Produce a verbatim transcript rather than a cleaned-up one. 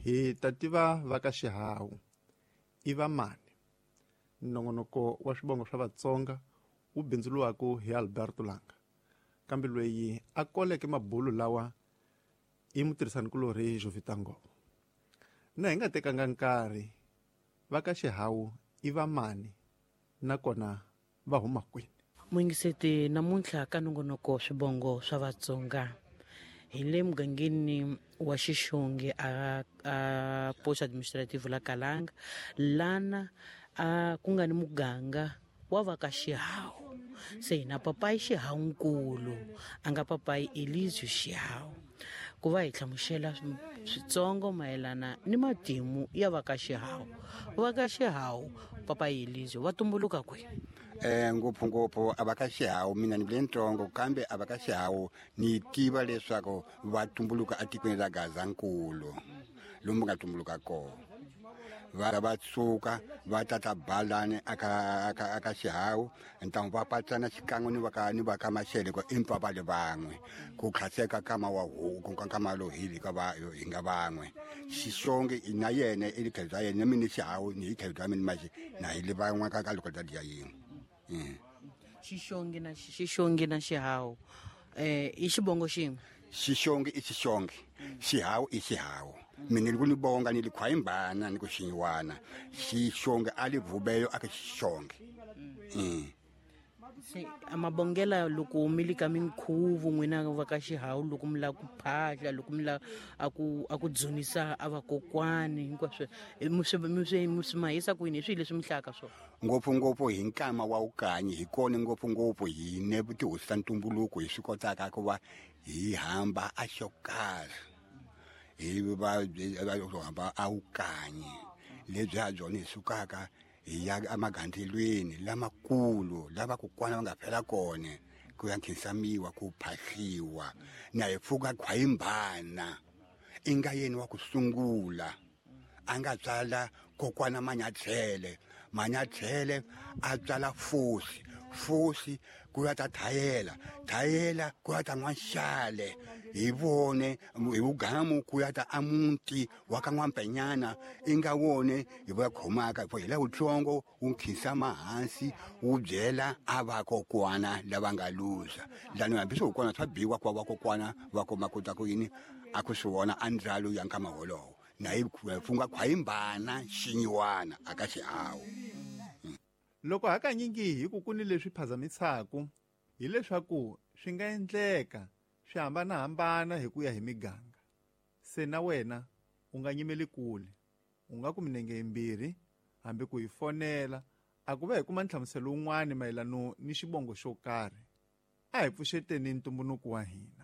Hi ta tiva va ka Xihawu i va mani. Nongonoko wa swivongo swa Vatsonga wu bindzuriwaka hi Alberto Langa. Kambe loyi a koleke mabulu lawa i mutirhisanikulorhi Jovita Nghovo. Na hi nga tekanga nkarhi, va ka Xihawu i va mani nakona va huma kwini? Muyingiseti, namuntlha ka nongonoko swivongo swa Vatsonga hi le mugangeni wa Xixongi a, a post administrative la Kalanga, lana a ku nga ni muganga wa va ka Xihawu. Se hina papayi Xihawu nkulu a nga papayi Elizio Xihawu, ku va hi hlamusela switsongo mayelana ni matimu ya va ka Xihawu. Va ka Xihawu papayi Elizio va tumbuluka kwihi? Eh ngopfungopfu a va ka Xihawu mina ni vule ntsongo, kambe a va ka Xihawu ni tiva leswaku va tumbuluka etikweni ra Gazankulu lomu nga tumbuluka kona. Va va suka va tata balani aka aka aka Xihawu, ntangu va patsana xikan'we ni va ka ni va ka Mashele ko empa va le van'we ku khaseka kama wa huku ka kama lo hi ka va hi nga van'we. Xixongi na yena i likhelo bya yena, mina Xihawu ni hi khelo bya mina maxi na hi le van'we ka ka loko bya dya yin'we. Xixongi na Xixongi na Xihawu eh i xivongo xin'we. Xixongi i Xixongi, Xihawu i Xihawu. Mina ni ku ni bonga ni likhwayimbana ni ku xinyiwana. Xixongi a li vubeyo aka Xixongi. Mm. Se amabongela loko mi le ka minkhuvo n'wina va ka Xihawu, loko mi lava ku phahla, loko mi lava a ku a ku dzunisa a vakokwani hinkwaswo, mi swi mi swi mi swi mahisa kwini? Hi swihi leswi mi hlayaka swona? Ngopfungopfu hi nkama wa vukanyi hi kona ngopfungopfu hi ne tihosi ta ntumbuluko hi swi kotaka ku va hi hamba a xo karhi, hi va hamba a vukanyi lebyi ha byona hi sukaka hi ya emagandzelweni lamakulu lava kokwana va nga fela kona ku ya nkhinsamiwa, ku phahliwa na hi pfuka khwayimbana i nga yena wa ku sungula a nga tswala kokwana Manyathele. Manyathele a tswala Fosi, Fosi ku ya ta Thayela, Thayela ku ya ta N'waxale, hi vone hi vugamu ku ya ta amuti wa ka N'wampenyana i nga wone hi va khomaka hi la wutsongo wu nkhinsama hansi wu byela a vakokwana lava nga luza lani hambi swi kokwana swa biwa kwa vakokwana va kuma kota ku yini a ku swi vona a ndzalo ya nkama wolowo na hi funga khwayimbana xinyiwana aka Xihawu. Loko hakanyingi hi ku ku ni leswi phazamisaka hileswaku swi nga endleka swi hambanahambana hi ku ya hi miganga. Se na wena u nga nyimeli kule, u nga ku minenge yimbirhi hambi ku hi fonela a ku va hi kuma nhlamuselo wun'wani mayelana ni xivongo xo karhi. A hi pfuxeteni ntumbuluko wa hina.